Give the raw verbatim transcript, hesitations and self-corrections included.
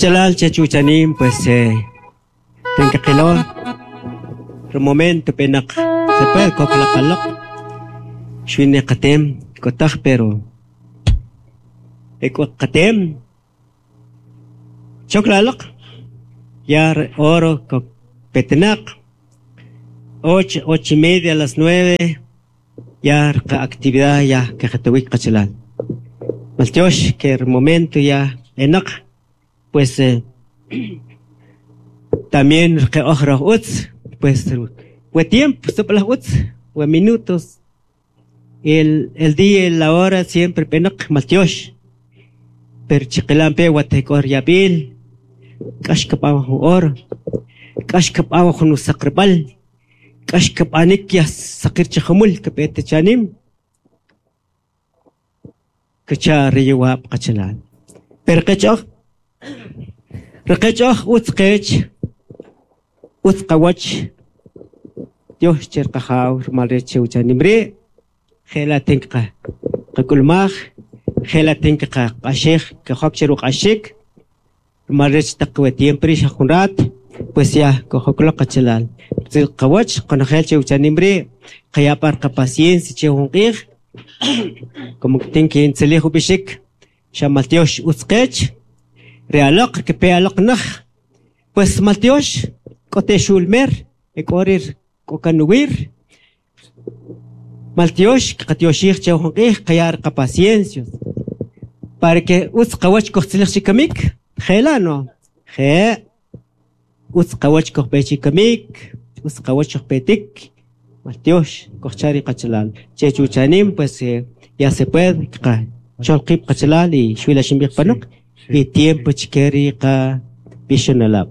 Qachalal che chuchanim pues eh, tenkaqilo el momento penaq se puede koklaqaloq xwine qatem kotaj pero ek'o qatem choklaloq ya oro petnaq ocho ocho y media a las nueve ya actividad ya kajatawik qachalal maltiox que el momento ya enaq pues eh, también que utz pues we tiempo sopla utz we minutos el el día y la hora siempre penaq maltiox pero chiqilampe watekor yabil k'ax kb'aw jun hora k'ax kb'aw jun usaqrb'al k'ax kb'anik ya saqir chijumul kb'et chanim kacha riyawab qachalal pero qech'oj rqech'oj utz qech utz qawach Dios cher qajaw rmal rech uchanim ri' jela tinka qakulmaj jela tinka q'axej kajok che ruq'axik rmal rech taq we tiempo ri' xa jun rat pues ya kojoklo qachalal qawach qonojel che uchanim ri' qayapar qapaciencia che jun q'ij como que tinki intzilij ub'ixik xa maltiox utz qech re aloq kepe aloq naj pues maltiox k'ote xulmer ek'orir k'okanuwir maltiox qatioxij che jun q'ij qayar qapaciencia para que utz qawach kojtzilij chikamik jela no je utz qawach kojpe chikamik utz qawach kojpetik maltiox kojchari qachalal che chuchanim pues eh, ya se puede qa cholqib qachalal y xuila ximbij panoq y tiempo chikeri qa bixonalab.